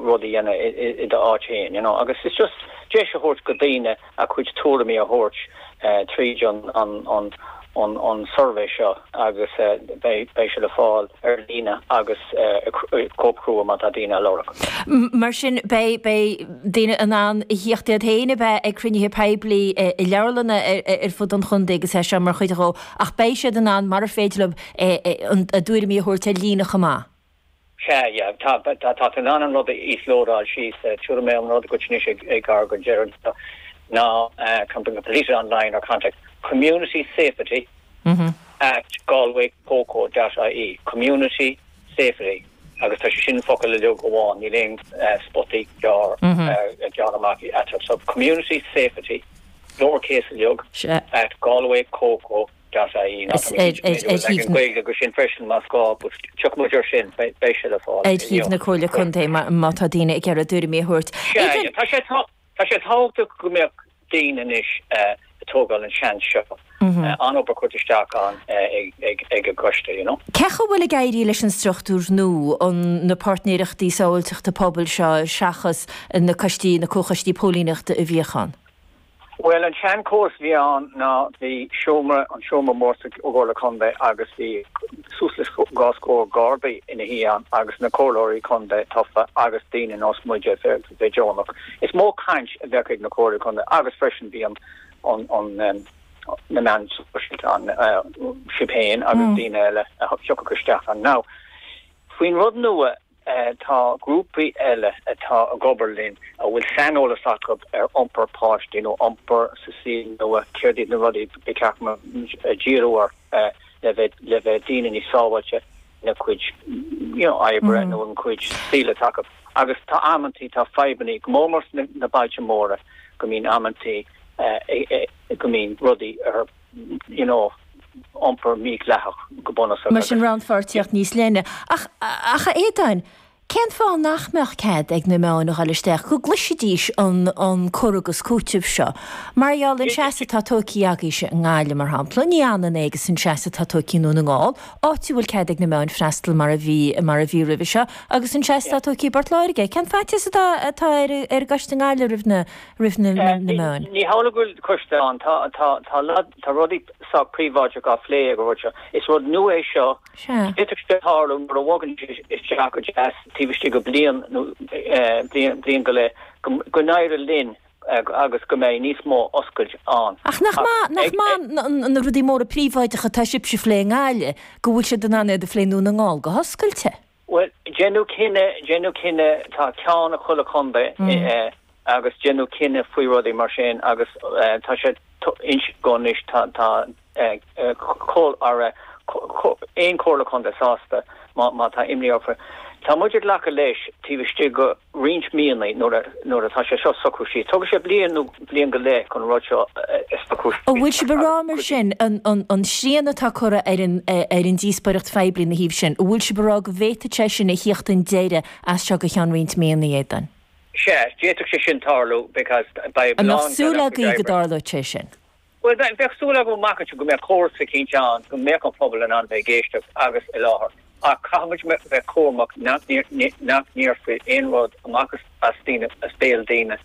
rud a dhéanamh i do áit féin, you know, agus it's just deis a thabhairt go daoine a cuid tuairimí a thabhairt tríd an an suirbhé seo agus beidh sé le fáil ar líne agus cóip chrua má tá daoine á lorg. Mar sin beidh beidh daoine in ann a thíocht iad féin a bheith ag cruinnithe poiblí i leabharlanna ar fud an chontae agus é seo mar chuid dhó ach beidh siad in ann mar ar féidir leo a dtuairimí a thabhairt ar líne chomh maith. Sea, yeah, tá, tá, tá tú in ann an rud a íoslódáil síos, tabharfaidh mé an rud dhuit anois ag gar go deireadh ná can be completed online or contact community safety at galwaycoco dot ie, community safety agus tá sé sin focal uilig amháin, níl aon spotaí gearr, gearr amach eatarthu. So community safety, lowercase uilig, at galwaycoco dot ie. Now tá mé cinnte go bhfuil leagan Gaeilge acu sin freisin más gá but tiocfaidh muid air sin, beidh sé le fáil Ar shuíomh na Comhairle Contae má tá daoine ag iarraidh a dtuairimí a thabhairt. Sea, yeah, tá sé tá sé tábhachtach go mbeadh daoine anois ag tógáil an seans seo. An-obair curtha isteach ann ag ag an gcoiste, you know. Cén chaoi a bhfuil ag éirí leis an struchtúr nua, an na páirtnéireachtaí sábháilteachta pobail seo seachas na coistí, na comhchoistí póilíneachta a bhíodh ann? Bhuel, an seanchóras a bhí ann ná bhí seomra, an seomra mór sa gComhairle Contae agus bhí suas le dhá scór Gardaí ina shuí ann agus na Comhairleoirí Contae tofa agus daoine nós muide a bheith deonach. Is mó caint a bheadh ag na Comhairleoirí Contae agus freisin bhí an, an, an, na meáin sóisialta ann, sibh féin agus daoine eile a thiocfadh isteach ann. Now, faoin rud nua, Tá grúpaí eile atá ag obair linn a bhfuil saineolas acu ar iompar páistí nó iompar sa saol nua, céard iad na rudaí ba cheart díriú orthu le bheith le bheith daoine níos sábháilte ina gcuid you know oibre nó ina gcuid saoil atá acu. Agus tá amantaí, tá fadhbannaí, go mór mór sna na bailte móra go mbíonn amantaí go mbíonn rudaí ar you know, iompar mídhleathach go bunúsach Mar sin rannpháirtíocht níos leithne. Ach, ach a Aodáin, cén fáth nach mbeadh cead ag na meáin a dhul isteach, go gcloisfidís an, an cur agus cúiteamh seo? Mar gheall an seasamh atá tógtha agaibhse i nGaillimh, mar shampla, ní hionann é agus an seasamh atá tógtha i nDún na nGall, áit a bhfuil cead ag na meáin freastal mar a bhí, mar a bhí roimhe seo, agus an seasamh atá tógtha i bPort Láirge. Cén faitíos atá, atá ar, ar an gcoiste i nGaillimh roimh na, roimh na meáin. Ní hamhlaidh go bhfuil coiste ann. Tá, tá, tá, tá rudaí sách príobháideach á phlé ag an rud seo. Is rud nua é seo. D'fhéadfadh sé tarlú nuair a bhogann sé isteach go deas taobh istigh de bliain nó bliain, bliain go leith go, go n-éireoidh linn agus go mbeidh níos mó oscailt ann. Ach nach maith, nach maith na rudaí móra príobháideacha atá sibhse a phlé i nGaillimh, go bhfuil siad in ann iad a phlé i nDún na nGall go hoscailte? Bhuel, déanadh cinneadh, déanadh cinneadh, tá ceann ag chuile chontae agus déanadh cinneadh faoi rudaí mar sin agus tá sé inste go anois, tá, tá aon chomhairle contae sásta má, má tá imní orthu. Tá muid ag glacadh leis taobh istigh de roinnt míonna nuair a, nuair atá sé seo socrú síos. Tógfaidh sé bliain nó bliain go leith chun an rud seo a socrú síos. An bhfuil sibh ag rá mar sin, an srian atá curtha ar an ar an díospóireacht phoiblí ina thaobh sin, an bhfuil sibh ag rá go bhféadfadh sé sin a thíocht chun deiridh as seo go ceann roinnt míonna, a Aodáin? Sea, d'fhéadfadh sé sin tarlú because beidh An mbeadh súil agaibh go dtarlódh sé sin? Bhuel, bheadh súil agam amach anseo go mbeadh córas eicínt ann go mbeadh an pobal in ann bheith ag éisteacht agus i láthair. Ach caithfidh muid bheith cúramach nach ndéarfaí aon rud amach as daoine, as béal daoine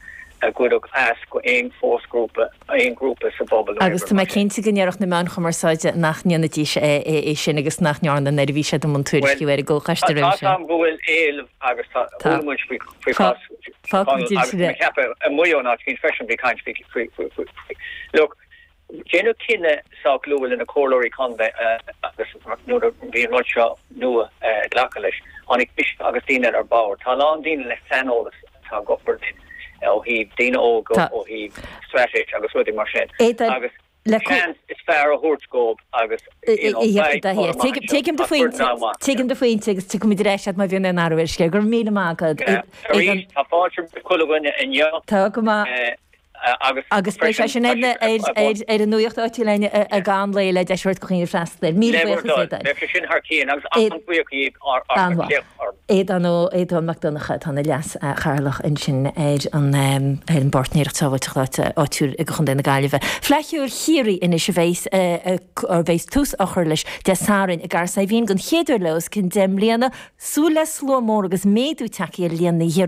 a gcuirfeadh as go aon fhosghrúpa, aon ghrúpa sa bpobal nó Agus tá mé cinnte go ndéarfadh na meáin chumarsáide nach ndéanfaidís é sin agus nach ndearna nuair a bhí siad i mbun tuairisciú ar an gcomhchoiste roimhe sin. Tá a fhios agam go bhfuil éileamh agus tá, chuala muid faoi chás Fágfaimid Agus sin. Ceapadh i Maigh Eo in áit éicint freisin bhí caint faoi faoi Look, déanadh cinneadh sách luath le na comhairleoirí contae agus nuair a bhí an rud seo nua glacadh leis, tháinig mise agus daoine eile ar bord. Tá a lán daoine le saineolas atá ag obair linn ó thaobh daoine óga, ó thaobh straitéis agus rudaí mar sin. Agus seans is fearr a thabhairt dhóibh agus you know beidh toradh maith anseo. Tuigim do phointe, tuigim do phointe agus tiocfaimid ar ais agat má bhíonn aon athrú ar an scéal. Go raibh míle maith agat. Arís, tá fáilte roimh chuile dhuine inniu. Tá go maith. Agus Agus beidh sé sin ar ar an nuacht áitiúil againn i gcaitheamh an lae le deis a thabhairt do dhaoine freastal air. Míle buíochas Aodáin. Beidh sé sin thar cionn agus an-bhuíoch dhíbh as ucht orm. Aodán Ó Aodán Mac Donncha atá ina leas-chathaoirleach ansin ar an ar an bPáirtnéireacht Sábháilteachta Áitiúil i gContae na Gaillimhe. Fleadh Cheoil Chiarraí anois a bheas a bheas tús á chur leis Dé Sathairn i gCathair Saidhbhín den chéad uair le os cionn 10 mbliana. Súil le slua mór agus méadú tagtha ar líon na.